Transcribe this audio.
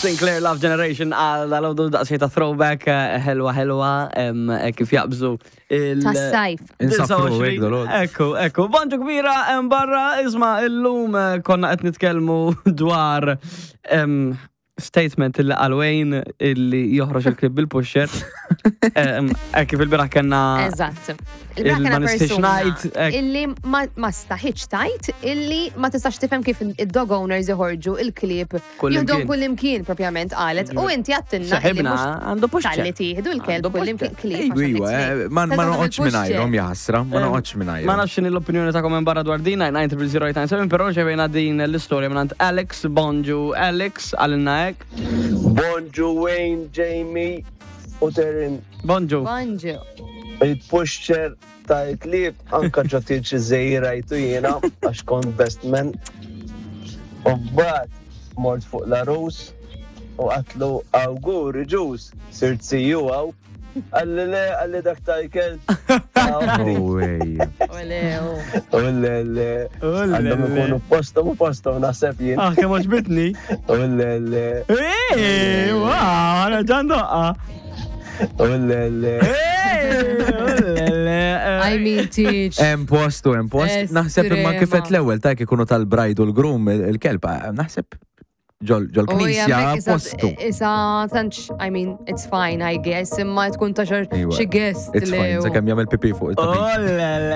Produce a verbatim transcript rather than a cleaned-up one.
Sinclair, Love Generation, għal dal-għodu daqsxejn ta' throwback, eh, ħelwa ħelwa, em, eh, kif jaqbżu il- Tas-sajf. Insafru hekk dal-għodu. Ekku, ekku. Bonġu kbira, em, barra, isma, illum eh, konna qed nitkellmu dwar em, statement illi qal Wayne illi joħroġ il-klieb bil-pusher. Em, Hekk kif il-bieraħ kellna Eżatt. il- Il-bieraħ ma kena nistax persuna ngħid, ek. illi ma ma staħitx tajt illi ma tistax tifhem kif id-dog owners joħorġu il-klieb Kullimkien. Jieħdu kullimkien propjament qalet u inti għattinna illi Seħibna mhux għandu pusher. talli tieħdu l-kelb Għandu kullimkien pusher. klieb. Iwa, għax iwa, għandek eh, ma ma Tagħhom noqgħodx il-pusher. mingħajrhom jaħasra, ma noqgħodx mingħajrhom. Ma nafx x'inhi l-opinjoni ta' minn barra dwar din nine zero zero eight nine seven, però rċevejna din l-istorja minn Alex. Bonġu Alex, għalina hekk. Bonġu Wayne, Jamie u Terin. Bonġu. Bonġu. Il-pusher tal-klieb anka ġo tieġ rajtu jiena għax kont best man. U mbagħad mort fuq l-għarus u għedtlu, "Awguri ġus, sirt C U għaw." Qalli, "Le," qalli, "dak tal-kelb." No way. Ole, U le, le. Għandhom ikunu postom u postom naħseb jien. Ah, kemm għoġbitni. U le, le. Ej, wow, għana ġan doqqa. U le, le. I mean, teach. Hemm postu, hemm post. Naħseb imma kif qed l-ewwel ta' ikunu tal-bride u l-groom il-kelb, eh, naħseb ġol ġol knisja postu. Isa, tantx, I mean, it's fine, I guess, imma tkun ta' Iwa, xi guest It's fine, li. sakemm jagħmel pipi fuq it-tapit. Oh, le, le.